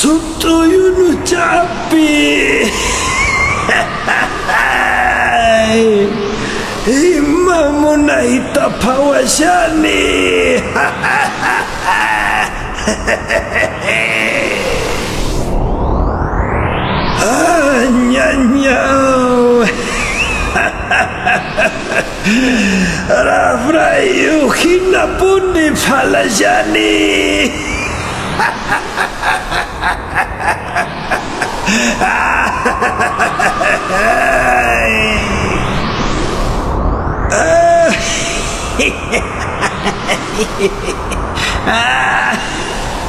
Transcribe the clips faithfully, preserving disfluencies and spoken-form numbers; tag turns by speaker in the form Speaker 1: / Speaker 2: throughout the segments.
Speaker 1: Sut'uy unuchapi. Ima munayta phawashani. Ah, ñañaw. Rafrayuq hinapuni phalashani.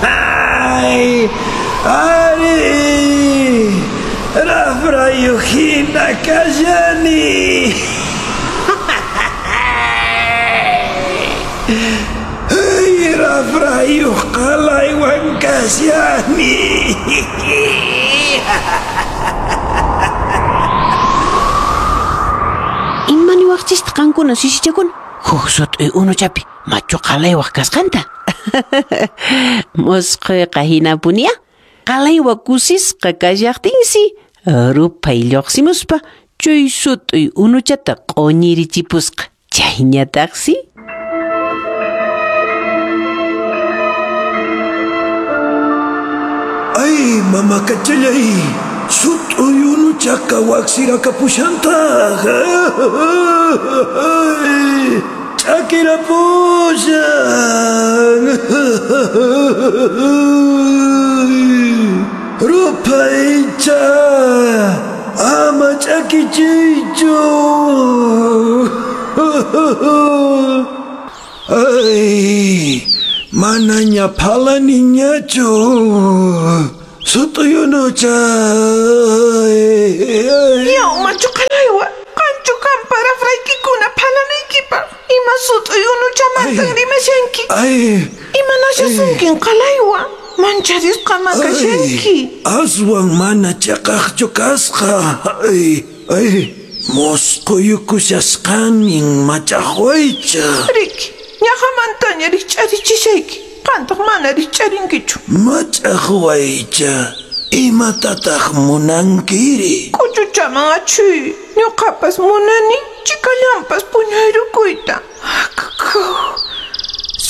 Speaker 1: Ay, ari, rafrayuq hina kashani. Ay, rafrayuq qalaywan kashani.
Speaker 2: Ima niwaqchista qankuna sisichakuna? Huk sut'uy unuchapi machu qalaywaq kasqanta. Musquyqa hinapunia. Qalaywa kusisqa kashaqtinsi ruphay lluqsimuspa chay sut'uy unuchata q'uñirichipusqa. Chayñataqsi
Speaker 1: Ay, mamakachallay, sut'uy unuchaqa waqsirakapushantaq. Ch'akirapushan. Rupaycha, ama ch'akichiychu. Ay, manaña phalaniñachu. Sut'uy unucha.
Speaker 3: Yaw, machu qalaywa, qanchu kanpa rafraykikuna phalanaykipaq. Ima sut'uy unuchamantan rimashanki.
Speaker 1: Ay,
Speaker 3: Imanashasunkin qalaywa, mancharisqama kashanki.
Speaker 1: Aswan mana chaqaqchu kasqa. Ay, ay, musquyukushasqanin machaqwaycha.
Speaker 3: Riki, ñaqamantaña rikch'arichishayki. Qantaq mana rikch'arinkichu.
Speaker 1: Machaqwaycha, imatataq munankiri?
Speaker 3: K'uchuchaman achuy, ñuqapas munani chikallanpas puñuyrukuyta.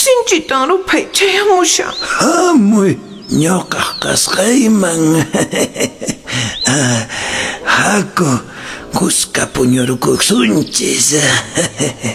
Speaker 3: Sinchitan ruphay chayamushan.
Speaker 1: Hamuy, ñuqaq kasqayman. Haku, kuska puñurukusunchis.